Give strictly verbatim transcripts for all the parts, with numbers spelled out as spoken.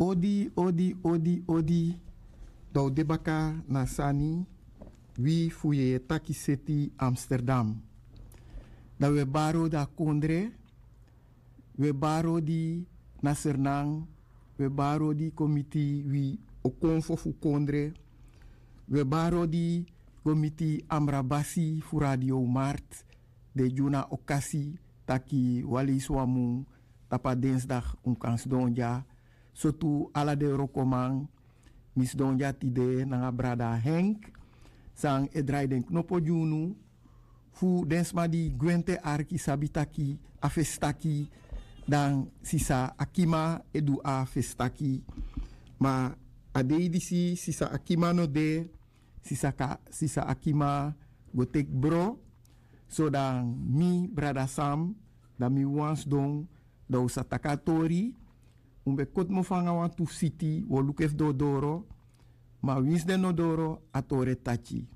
Odi, odi, odi, odi. Dan un de baka na sani wi fu yeye taki seti Amsterdam. Dan un e bari odi a kondre. Un e bari odi na Sernan. Un e bari odi kon miti wi okonfo fu kondre. Un e bari odi kon miti Amrabasi fu Radio Mart. Den e gi unu a okasi taki wan leisi wan mun tapu a densdag un kan sidon dya. So tu ala den wrokoman, mi sidon dya tide nanga brada Henk, san e drai den knopo gi unu, fu den sma di gwenti e arki sabi taki a fesi taki, dan sisa Akima e du a fesi taki. Ma a dei disi sisa Akima no de, sisa, sisa Akima go teki bro. So dan mi, brada Sam, dan mi wani sidon, dan un sa taki a tori. Un ben koti mofo nanga wantu siti, un o luku efu den o doro. Ma winsi den no doro, a tori e taki.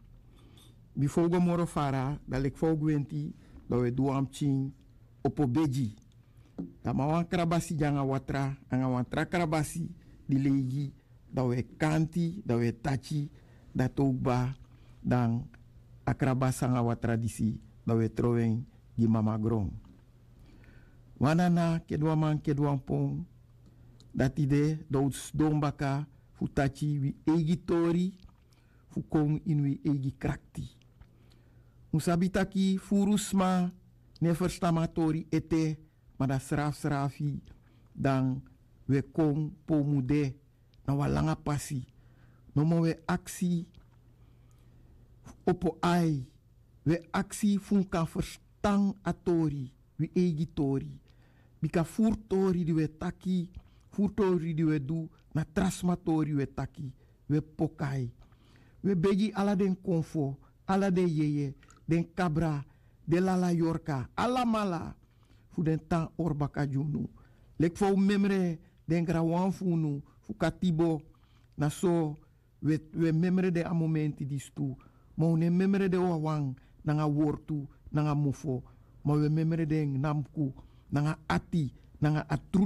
Bifo un go moro fara, dan leki fa un gwenti, dan un e du wan pikin opo begi. Dan mi a wan krabasi de nanga watra, nanga wan tra krabasi di leigi, dan un e kanti, dan un e taki, dati o kba, dan a krabasi nanga watra disi, dan un e trowe en gi mama gron. Wan nana kede wan man kede wan pon, dati de dan un sidon baka fu taki wi eigi tori, fu kon ini wi eigi krakti. Un sabi taki furu sma no e ferstan mi a tori ete, ma dan srafsrafi, dan un e kon pe un mu de, na wan langa pasi. Nomo un e aksi opo ai, un e aksi fu un kan ferstan a tori, wi eigi tori. Bika furu tori di un e taki, furu tori di un e du, na tra sma tori un e taki, un e pokai. Un e begi ala den konfo, ala den yeye, den kabra, den lala yorka, alamala, fu den tan hori baka gi unu. Leki fa un memre den granwan fu unu, fu katibo, na so un e, un e memre den a momenti disi tu. Ma un no e memre den wawan, nanga wortu, nanga mofo. Ma un e memre den nanga buku, nanga ati, nanga a trutu.